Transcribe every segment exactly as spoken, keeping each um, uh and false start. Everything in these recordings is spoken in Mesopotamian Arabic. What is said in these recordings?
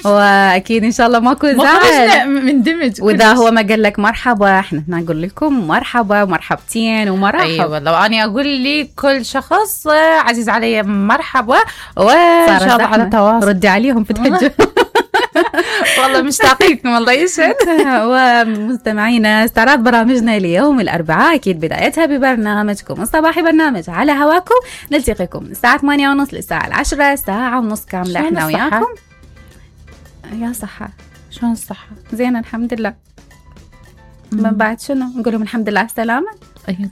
واكيد ان شاء الله ماكو زعل مندمج. واذا هو ما قال لك مرحبا احنا نقول لكم مرحبا ومرحبتين ومرحبا. اي أيوة والله، وانا اقول لي كل شخص عزيز علي مرحبا، وان شاء الله على تواصل. ردي عليهم في تحجه. والله مشتاقينكم الله يسعد. ومستمعينا، استعراض برامجنا اليوم الأربعاء أكيد بدايتها ببرنامجكم الصباحي برنامج على هواكم. نلتقيكم من الساعة ثمانية ونص للساعة العشرة، ساعة ونص كاملة احنا وياكم. يا صحة، شلون الصحة؟ زين الحمد لله. من بعد شنو نقول لهم؟ الحمد لله على السلامة.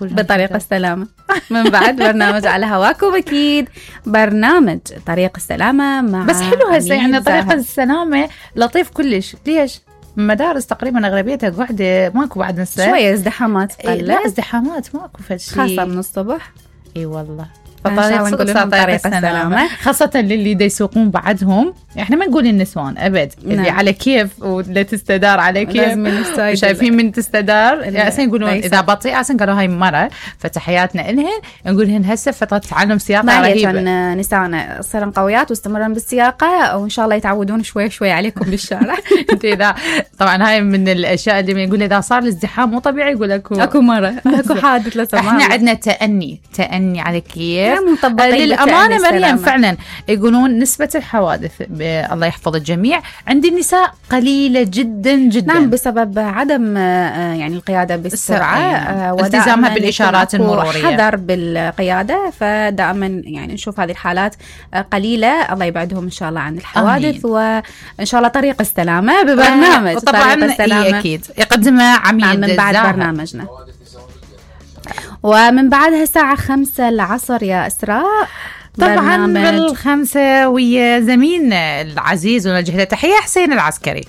بطريقة السلامة. من بعد برنامج على هواكم أكيد برنامج طريق السلامة مع بس حلو هسه يعني طريق السلامة لطيف كلش. ليش؟ مدارس تقريبا أغلبيتها قاعدة ماكو بعد نص شوية ازدحامات. إيه لا ازدحامات ماكو فشي خاصة من الصبح. اي والله. فطريق طريق السلامة خاصة للي دا يسوقون بعدهم. احنا ما نقول النسوان ابد. نعم. اللي على كيف ولا تستدار على كيف وشايفين من تستدار يعني يقولون اذا بطيئة اصلا قالوا هاي مرة، فتحياتنا لهن. نقولهن هسه فترة تعلم سياقة رهيبة. نسانا صرن قويات واستمرن بالسياقة، وان شاء الله يتعودون شوي شوي عليكم بالشارع. انت اذا طبعا هاي من الاشياء اللي يقول اذا صار الازدحام مو طبيعي يقول اكو اكو مرة اكو حادث لا سمح الله. احنا عندنا تأني تأني على كيف. للأمانة مريم فعلا يقولون نسبة الحوادث الله يحفظ الجميع عند النساء قليلة جدا جدا. نعم، بسبب عدم يعني القيادة بالسرعة والتزامها بالإشارات المرورية، حذر بالقيادة. فدائما يعني نشوف هذه الحالات قليلة. الله يبعدهم إن شاء الله عن الحوادث. آمين. وإن شاء الله طريق السلامة ببرنامج طبعا السلامة أكيد يقدمها عميد من بعد زاهر. برنامجنا ومن بعدها الساعة خمسة العصر يا إسراء طبعا بالخمسة ويا زميلنا العزيز ونوجه له تحية حسين العسكري.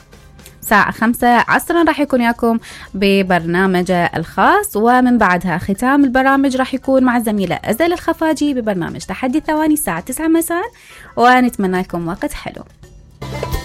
ساعة خمسة عصرا راح يكون ياكم ببرنامجه الخاص. ومن بعدها ختام البرامج راح يكون مع الزميلة أزل الخفاجي ببرنامج تحدي الثواني الساعة تسعة مساء. ونتمنى لكم وقت حلو.